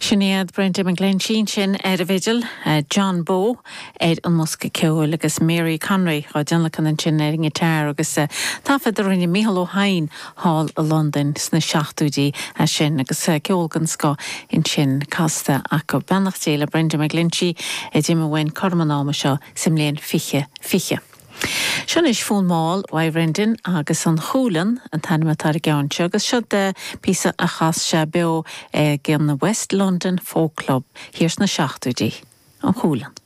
Sin iad Brenda McGlinchey ansin ar an bhfidil, John Bowe ar an mbosca ceoil agus Mary Conroy á dtionlacan ansin ar an ngiotár agus taifead a rinne Mícheál Ó hEidhin thall i Londain sna seachtóidí é sin agus ceol den scoth ansin casta acu. Beannacht Dé le Brenda McGlinchey a d'imigh uainn cothrom an ama seo sa mbliain 2020. Seo anois Fonn Mall uaidh Bhrendan agus An Chualann an t-ainm atá ar an gceann seo agus seo píosa a chas sé beo ag an West London Folk Club thiar sna seachtóidí. An Chualann.